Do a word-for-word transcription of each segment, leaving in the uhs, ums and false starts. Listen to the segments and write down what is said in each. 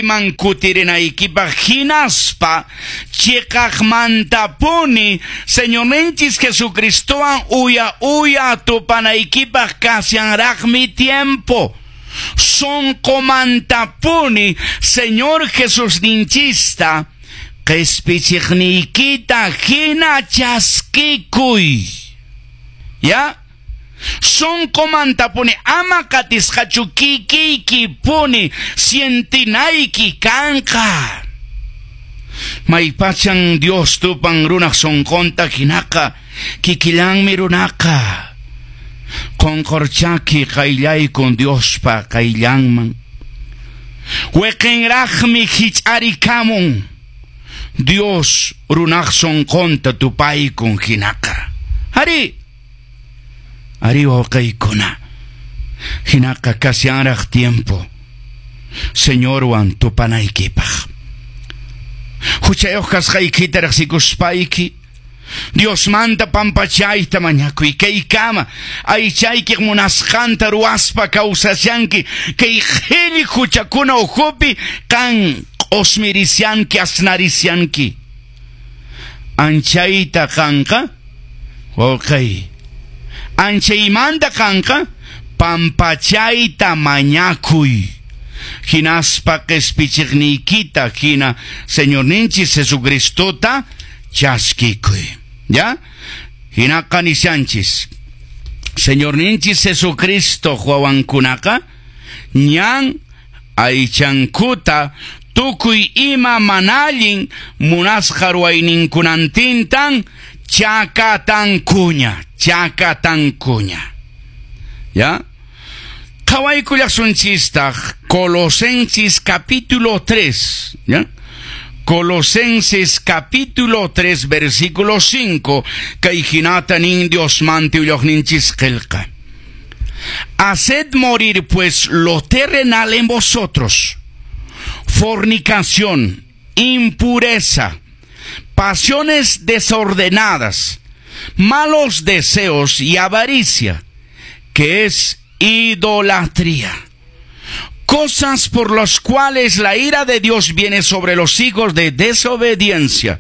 Man kutirinaykipaq hinaspa chiqaqmantapuni Señorninchis Jesucristowan uya uya tupanaykipaq kashanraqmi tiempo. Sonqomantapuni Señor Jesusninchista qespichiqniykita hina chaskikuy. ¿Ya? Sonqomantapuni ama qatisqachu kikiykipuni sientinayki kanqa. Maypachan Dios tupan runaq sonqonta hinaqa kikillanmi runaqa. Qonqorchaki qayllaykun Diospa qayllanman. Weqenraqmi hich'arikamun. Dios runaq sonqonta tupaykun hinaqa. Ari! Ari wawqiykuna. Hinaqa kashanraq tiempo. Señorwan tupanaykipaq. Huchayuq kasqaykita riqsikuspayki Diosmanta pampachayta mañakuy kaykama aychaykiq munasqanta ruwaspa kawsashanki kay qhilli huchakuna ukhupi qan q'osmirishanki asnarishanki. Anchayta qanqa wawqay anchaymanta qanqa pampachayta mañakuy. Hinaspa qespichiqniykita hina Señorninchis Jesucristota chaskikuy. ¿Ya? Hinaqa nishanchis. Señorninchis Jesucristo wawankunaqa ñan aychankuta tukuy ima mana allin munasqa ruwayninkunantintan chakatankuña, chakatankuña. ¿Ya? Qhawaykullasunchistaq Colosenses capítulo tres, ¿ya? Colosenses capítulo tres versículo cinco, kay hinata nin Diosmanta willaqninchis qillqa. Haced morir pues lo terrenal en vosotros: fornicación, impureza, pasiones desordenadas, malos deseos y avaricia, que es idolatría. Cosas por las cuales la ira de Dios viene sobre los hijos de desobediencia,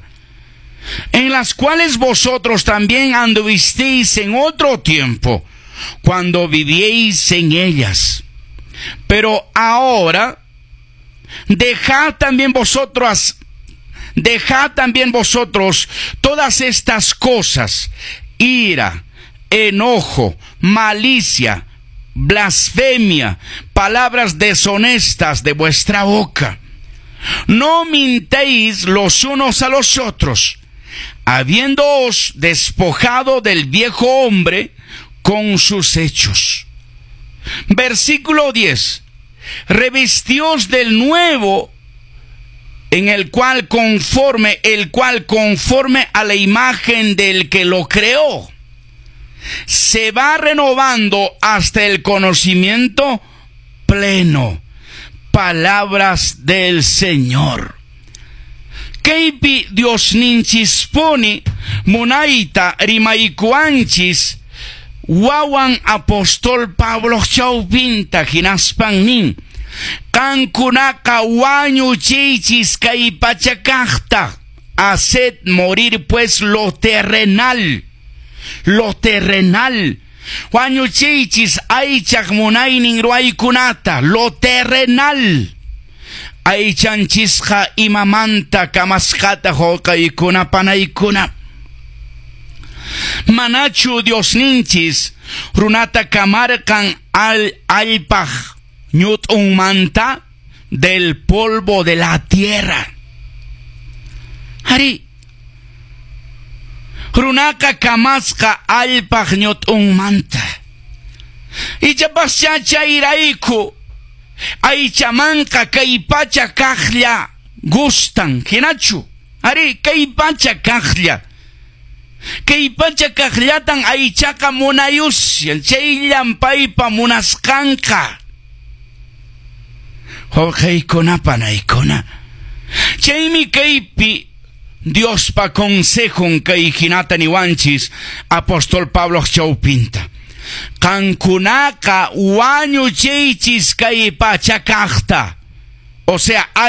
en las cuales vosotros también anduvisteis en otro tiempo, cuando vivíais en ellas. Pero ahora, dejad también vosotros, dejad también vosotros todas estas cosas: ira, enojo, malicia, blasfemia, palabras deshonestas de vuestra boca. No mintéis los unos a los otros, habiéndoos despojado del viejo hombre con sus hechos. Versículo diez. Revestíos del nuevo, en el cual conforme, el cual conforme a la imagen del que lo creó, se va renovando hasta el conocimiento pleno. Palabras del Señor. Kaypi Diosninchispuni munayta rimaykuwanchis wawan apóstol Pablo chawpinta hinaspan nin: qankunaqa wañuchiychis kay pachakaqta. Haced morir pues lo terrenal, lo terrenal. Wañuchiychis aychaq munaynin ruwaykunata, lo terrenal. Aychanchisqa imamanta kamasqata wawqiykuna panaykuna. Manachu Diosninchis runata kamarqan al allpaq ñut'unmanta, del polvo de la tierra. Ari, runaqa kamasqa allpaq ñut'unmanta. Ichapaschá chayrayku aychamanqa kay pacha kaqlla gustan, hinachu? Ari, kay pacha kaqlla. Kay pacha kaqllatan aychaqa munayusyan, chayllan paypa munasqanqa. Wawqiykuna panaykuna, chaymi kaypi Diospa consejon kay hinata niwanchis apóstol Pablo chawpinta. Qankunaqa wañuchiychis kay pacha kaqta. O sea, hay